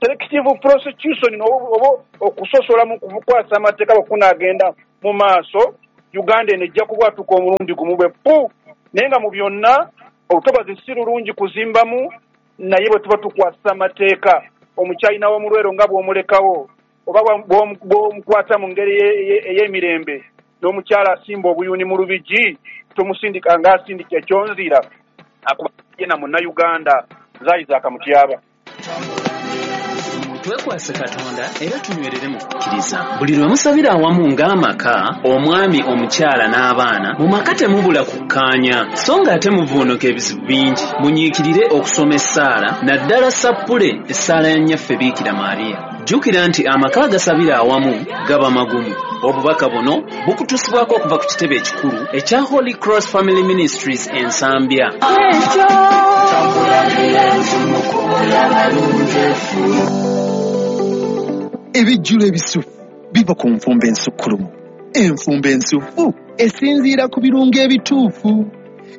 Selective prosecution oba okusosola mu kukwasa amateeka bwe kunaagenda mu maaso Uganda eno ejja kubwatuka omulundi gumu bwe pu. Naye nga mu byonna olutobazi si lulungi kuzimbamu naye bwe tuba tukwasa amateeka omuchina w'omulwero nga bw'omulekawo oba bw'omukwata mu ngeri ey'emirembe n'omukyala asimba obuyuuni mu Lubigi tomusindika ng'asindika ekyonzira akuba ye na Munnayuganda. Isaac Mutyaba. Twekwase Katonda era tunywerere mu kukkiriza. Buli lwe musabira awamu ng'amaka, omwami, omukyala n'abaana, mu maka temubula kukkaanya, so ng'ate muvuunuka ebizibu bingi. Munyiikirire okusoma essaala, naddala sappule essaala ya Nnyaffe Biikira Maria. Jjukira nti amaka agasabira awamu gaba magumu. Obubaka buno bukutuusibwako okuva ku kitebe ekikulu ekya Holy Cross Family Ministries e Nsambya. Ebijjulo ebisufu biva ku nfumba ensukkulumu. Enfumba ensufu esinziira ku birungo ebituufu.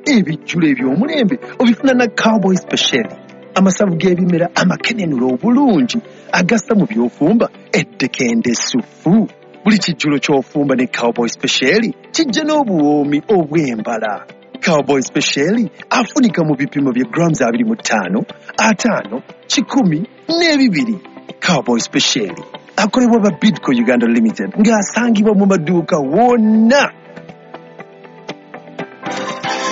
Ebijjulo eby'omulembe obifuna na Cowboy Special. Amasavu g'ebimera amakenenula obulungi agassa mu by'ofumba eddekende essufu. Buli kijjulo ky'ofumba ne Cowboy Special kijja n'obuwoomi obw'embala. Cowboy Special afunika mu bipimo bya grams 25, 50, 100 n'ebibiri. Cowboy Special akolebwa ba Bidco Uganda Limited ng'asangibwa mu maduuka wonna.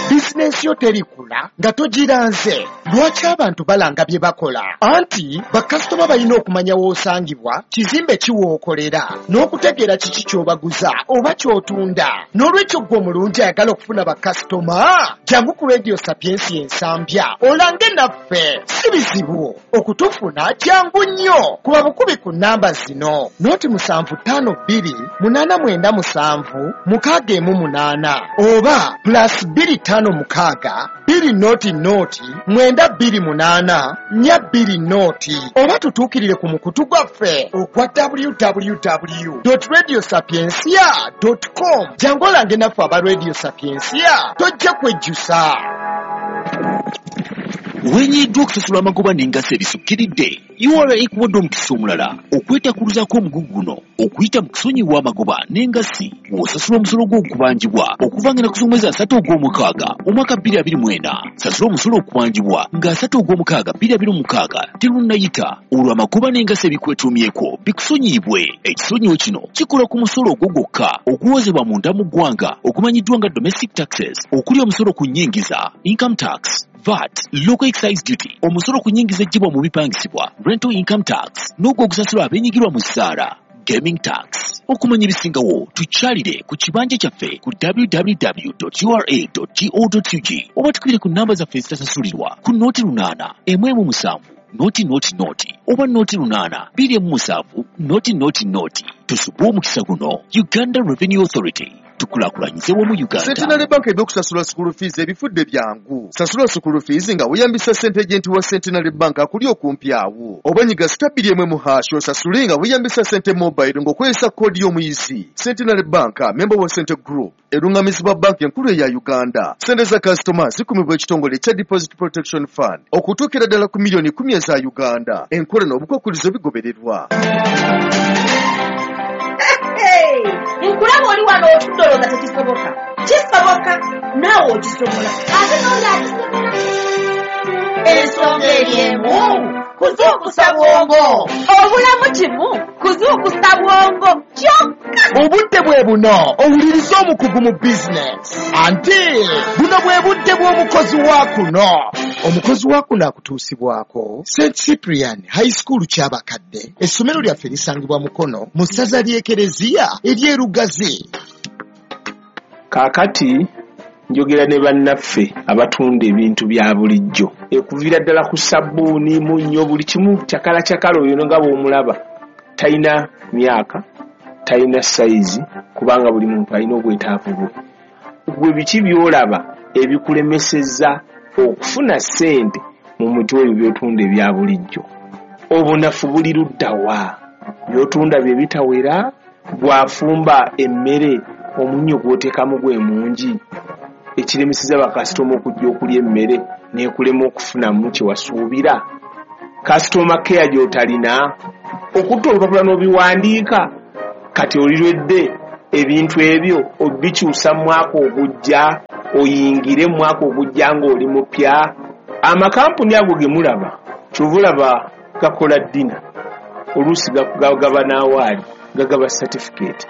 Bizinensi yo terikula nga togiranze. Lwaki abantu balanga bye bakola? Anti bakasitoma balina okumanya w'osangibwa, kizimbe ki w'okolera, n'okutegeera kiki ky'obaguza oba ky'otunda. N'olwekyo ggwe omulungi ayagala okufuna bakasitoma, jangu ku Radio Sapiensia Ensambya olange naffe. Si bizibu okutufuna, jangu nnyo. Kuba bukubi ku nnamba zino: 0752 897 618 oba +256 6, 2 0 0 9 2 8 4 2 0 oba tutuukirire ku mukutu gwaffe ogwa www.radiosapiensia.com. Jangu olange naffe aba Radio Sapiensia, tojja kwejjusa. Wenyiddwa okusasula amagoba n'engassi ebisukkiridde, URA ekuwadde omukisa omulala okwetakuluzaako omugugu guno okuyita mu kusonyiwa amagoba n'engassi ng'osasula omusolo gw'okubanjibwa okuva nga ennaku z'omwezi 3 ogw'omukaaga omwaka 2024. Sasula omusolo okubanjibwa nga 3 ogw'omukaaga 2026 terunnayita, olwo amagoba n'engassi ebikwetuumyeko bikusonyiyibwe. Ekisonyiwo kino kikola ku musolo ogwo gwokka oguwozebwa munda mu ggwanga ogumanyiddwa nga domestic taxes, okuli omusolo ku nnyingiza, income tax, VAT, local excise duty, omusolo ku nnyingiza eggyibwa mu bipangisibwa, rental income tax, n'ogwo ogusasulwa abeenyigirwa mu ssaala, gaming tax. Okumanya ebisingawo tukyalire ku kibanja kyaffe ku www.ura.go.ug oba tukubire ku namba zaffe ezitasasulirwa ku 08 117 0 0 0 oba 08 27 0 0 0. Tusubwe omukisa guno. Uganda Revenue Authority, tukulaakulanyize wamu Uganda. Centenary Bank ebyokusasula school fees ebifudde byangu. Sasula school fees nga weeyambisa ssente agent wa Centenary Bank akuli okumpi awo. Oba nyiga *1 hash osasule nga weeyambisa ssente mobile ng'okozesa koodi y'omuyizi. Centenary Bank, member wa Sente Group, erungamizibwa banki enkulu eya Uganda. Ssente za kasitoma zikumibwa ekitongole ekya Deposit Protection Fund okutuukira ddala ku miliyoni 10 eza Uganda. Enkola n'obukwakkulizo bigobererwa. Nkulaba oli wano otudde olowooza tekisoboka. Kisoboka, naawe okisobola, ate n'oli akisobola. Ensonga eri emu, kuzuukusa bwongo. Obulamu kimu, kuzuukusa bwongo kyokka. Obudde bwe buno owulirize omukugu mu bizinesi, anti buno bwe budde bw'omukozi wa kuno. Omukozi wa kuno akutuusibwako St Cyprian High School Kyabakadde. Essomero lyaffe lisangibwa Mukono mu ssaza ly'Ekereziya ery'Erugazi. Kaakati njogera ne bannaffe abatunda ebintu bya bulijjo, ekuviira ddala ku sabbuuni, munnyo, buli kimu cakala cakala. Oyo nga bw'omulaba talina myaka, talina sayizi, kubanga buli muntu alina obwetaavu bwe. Gwe biki by'olaba ebikulemesezza okufuna ssente mu muti ebyo by'otunda ebya bulijjo? Obunafu buli ludda wa? By'otunda bye bitawera? Gw'afumba emmere omunnyo gw'oteekamu gwe mungi, ekiremeseza bakasitoma okujja okulya emmere n'ekulema okufunamu kye wasuubira? Kasitoma keya gy'otalina okutta olupapula n'obiwandiika, kati olirwedde ebintu ebyo obikyusa mu mwaka ogujja, oyingire mu mwaka ogujja ng'oli mupya. Amakampuni ago ge mulaba, kyova olaba gakola ddina, oluusi gaba n'awaali, gagaba certificate.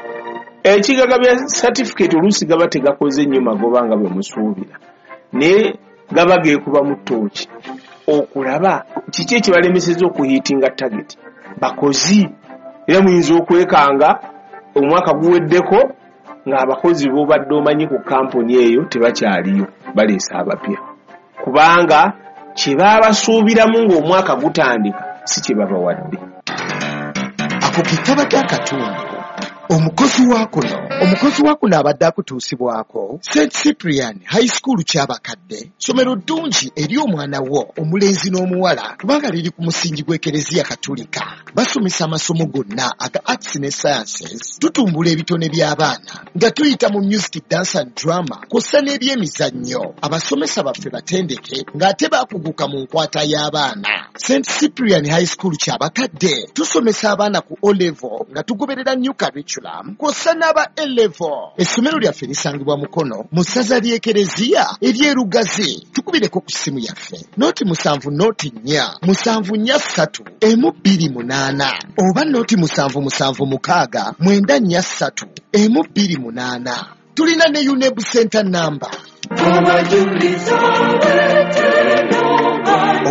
Ekigagabya certificate oluusi gaba tegakoze nnyo magoba nga bwe musuubira, naye gaba geekuba mu ttooki okulaba kiki ekibalemeseza okuhiitinga target. Bakozi era muyinza okwekanga omwaka guweddeko ng'abakozi b'obadde omanyi ku kampuni eyo tebakyaliyo, baleese abapya, kubanga kye baabasuubiramu ng'omwaka gutandika si kye babawadde. Ako ke kabadde akatundu omukozi wa kuno. Omukozi wa kuno abadde akutuusibwako St Cyprian High School Kyabakadde. Ssomero ddungi eri omwana wo omulenzi n'omuwala, kubanga liri ku musingi gw'Ekereziya Katulika. Basomesa amasomo gonna aga arts ne sciences. Tutumbula ebitone by'abaana nga tuyita mu music, dance and drama, kw'ossa n'ebyemizannyo. Abasomesa baffe batendeke ng'ate baakuguka mu nkwata y'abaana. St Cyprian High School Kyabakadde tusomesa abaana ku O level nga tugoberera new curriculum, kw'ossa n'aba A level. Essomero lyaffe lisangibwa Mukono mu ssaza ly'Ekereziya ery'Erugazi. Tukubireko ku ssimu yaffe 0 7 0 4 7 4 3 1 2 8 oba 0 7 7 6 9 4 3 1 2 8. Tulina ne UNEB center number.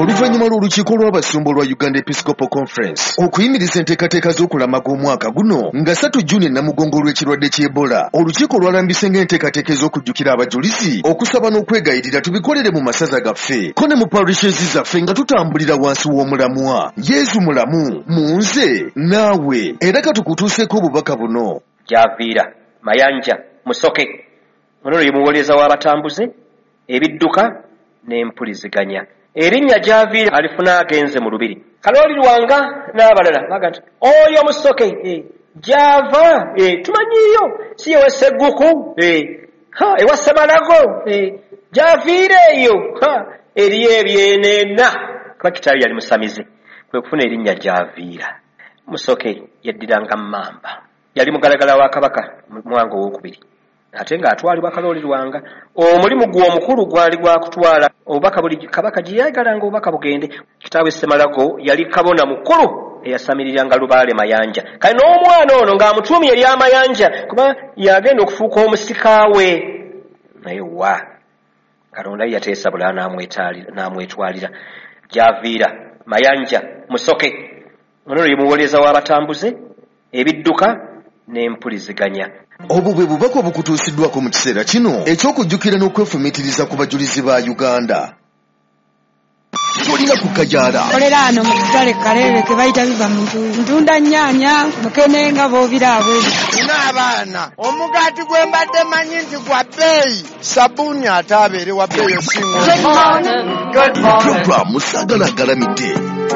Oluvannyuma lw'olukiiko lw'abasumba olwa Uganda Episcopal Conference okuyimiriza enteekateeka z'okulamaga omwaka guno nga 3 Juni Namugongo olw'ekirwadde ky'Ebola, olukiiko lwalambise ng'enteekateeka ez'okujjukira abajulizi, okusaba n'okwegayirira tubikolere mu masaza gaffe ko ne mu parishes zaffe nga tutambulira wansi w'omulamwa Yezu mulamu mu nze naawe. Era katukutuuseeko obubaka buno. Gyaviira Mayanja Musoke, ono ye muwolereza w'abatambuze. Ebidduka n'empuliziganya. Erinnya gy'aviira alifuna agenze mu lubiri. Kalooli Lwanga n'abalala baga nti oyo Musoke gy'ava tumanyiiyo, si ewa Sseguku, ewa Ssemalago, gy'aviira eyo eriyo ebyenena. Kuba kitaawe yali musamize, kwe kufuna erinnya gy'aviira. Musoke yaddiranga Mmamba, yali mugalagala wa Kabaka Mwanga Owookubiri, ate ng'atwalibwa Kalooli Lwanga. Omulimu gwe omukulu gwali gwa kutwala obubaka buli Kabaka gye yayagalanga obubaka bugende. Kitaawe Ssemalago yali kabona mukulu eyasamiriranga Lubaale Mayanja. Kale n'omwana ono ng'amutuumye ery'Amayanja, kuba yagenda okufuuka omusika we. Naye wa Katonda ye yateesa bulala n'amwetwalira. Gy'aviira Mayanja Musoke ono ye muwolereza w'abatambuze, ebidduka n'empuliziganya. Obwo bwe bubaka obukutuusiddwako mu kiseera kino eky'okujjukira n'okwefumiitiriza ku bajulizi ba Uganda. Tolina kukajaala. Kolera ano mu katale Kaleere ke bayita biva mu ntuuyo. Ntunda nnyaanya, mukene nga bw'obiraba. Nina abaana, omugaati gwe mbadde manyi nti gwa bbeeyi, sabbuuni ate abeere wa bbeeyi osinga. Puroguramu Saagala Agalamidde.